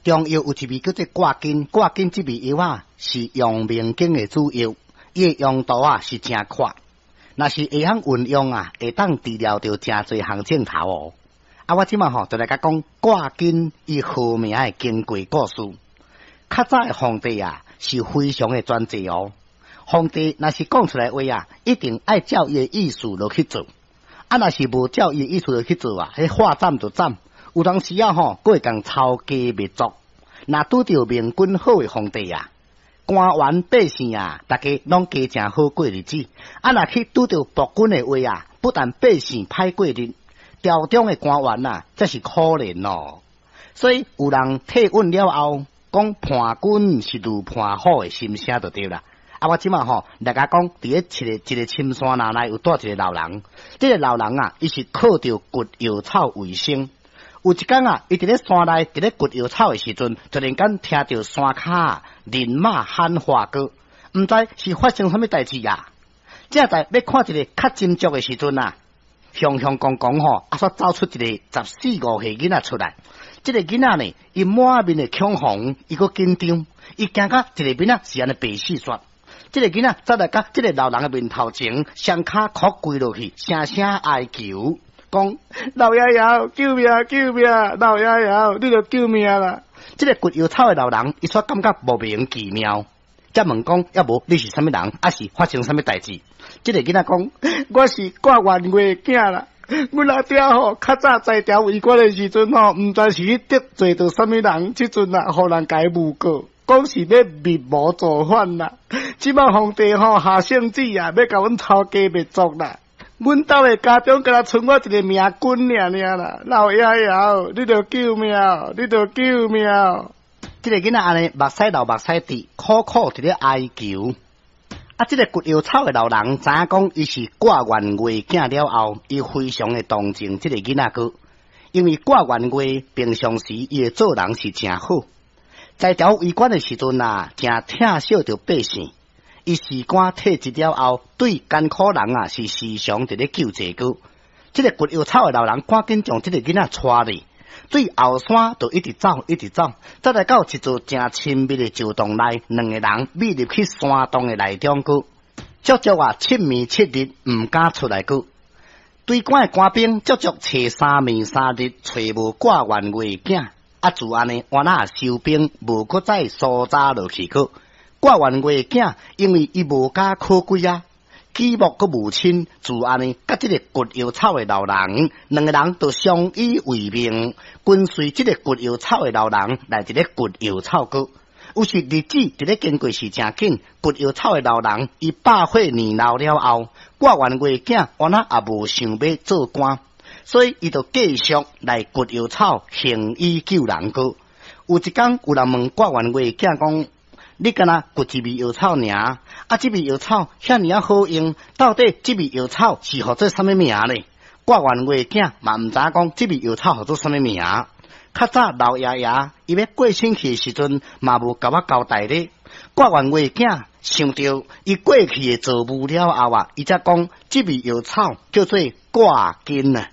中藥有一味叫做掛筋，掛筋這味藥啊是陽明經的主藥，伊的用途啊是誠闊，若是會曉運用啊，會當治療著誠濟項症頭哦。啊，我這馬吼就來共講掛筋伊號名的經過故事。較早的皇帝啊是非常的專制哦，皇帝若是講出來話啊，一定愛照伊的意思落去做。啊，若是無照伊的意思落去做啊，彼話斬就斬。有當時啊吼，閣會共抄家滅族。若拄著明君好的皇帝啊，官員百姓啊，逐家攏加誠好過日子。啊，若去拄著暴君的話啊，不但百姓歹過日，朝中的官員啊，才是可憐哦。所以有人退隱了後，講叛軍是如叛虎的心聲就對啦。啊，我這馬吼來共講，佇咧一个一个深山林內有蹛一个老人，這个老人啊，伊是靠著掘藥草為生。有一工啊，伊佇咧山內佇咧掘藥草的時陣，突然間聽著山跤人馬喊話歌，毋知是發生啥物代誌啊！正在欲看一个較斟酌的時陣啊，雄雄公公吼，啊，煞走出一个十四五歲囡仔出來。這个囡仔呢，伊滿面的恐慌，伊閣緊張，伊驚甲一个面仔是按呢白死煞。這个囡仔走來到這个老人的面頭前，雙跤磕跪落去，聲聲哀求，講老爺爺救命救命！老爺爺，你著救命啦！這个掘藥草的老人，伊煞感覺莫名其妙，才問講：抑無你是啥物人？抑是發生啥物代誌？這个囡仔講：我是掛元月囝啦。阮阿爹吼，較早在朝為官的時陣吼，毋知是去得罪著啥物人，這陣啊，予人共伊誣告，講是欲密謀造反啦。這馬皇帝吼下聖旨啊，欲共阮抄家滅族啦。阮兜的家中敢若賰我一个明君爾爾啦，老爺爺，你著救命，你著救命！這个囡仔按呢目屎流目屎滴，苦苦佇咧哀求。啊，這个掘藥草的老人知影講伊是掛元月囝了後，伊非常的同情這个囡仔哥，因為掛元月平常時伊的做人是誠好，在朝為官的時陣啊，誠疼惜著百姓。伊辭官退職了後，對艱苦人啊是時常佇咧救濟閣。這个掘藥草的老人趕緊將這个囡仔帶去，對後山就一直走，一直走，走來到一座誠親密的石洞內，兩个人覕入去山洞的內中閣，足足啊七暝七日毋敢出來閣。追趕的官兵足足揣三暝三日，揣無掛元月囝，啊自按呢，原來收兵無閣再搜查落去閣。掛元月囝，因為伊無家可歸啊，舉目閣無親，自按呢，佮這个掘藥草的老人，兩个人就相依為命，跟隨這个掘藥草的老人來佇咧掘藥草閣。有時日子佇咧經過時誠緊，掘藥草的老人伊百歲年老了後，掛元月囝原來也無想欲做官，所以伊就繼續來掘藥草，行醫救人閣。有一工有人問掛元月囝講：你敢若掘一味藥草爾？啊，這味藥草遐爾仔好用，到底這味藥草是號做啥物名呢？掛元月囝嘛毋知影講這味藥草號做啥物名。較早老爺爺伊欲過身去的時陣，嘛無共我交代咧。掛元月囝想著伊過去的造物了後啊，伊才講這味藥草叫做掛筋啊，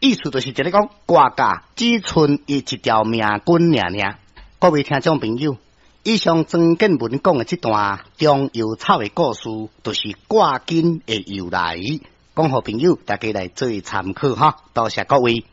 意思就是一咧講掛甲只賰伊一條命根爾爾。各位聽眾朋友，以上曾建文講的這段中藥草的故事，就是掛筋的由來，講予朋友大家來做參考哈。多謝各位。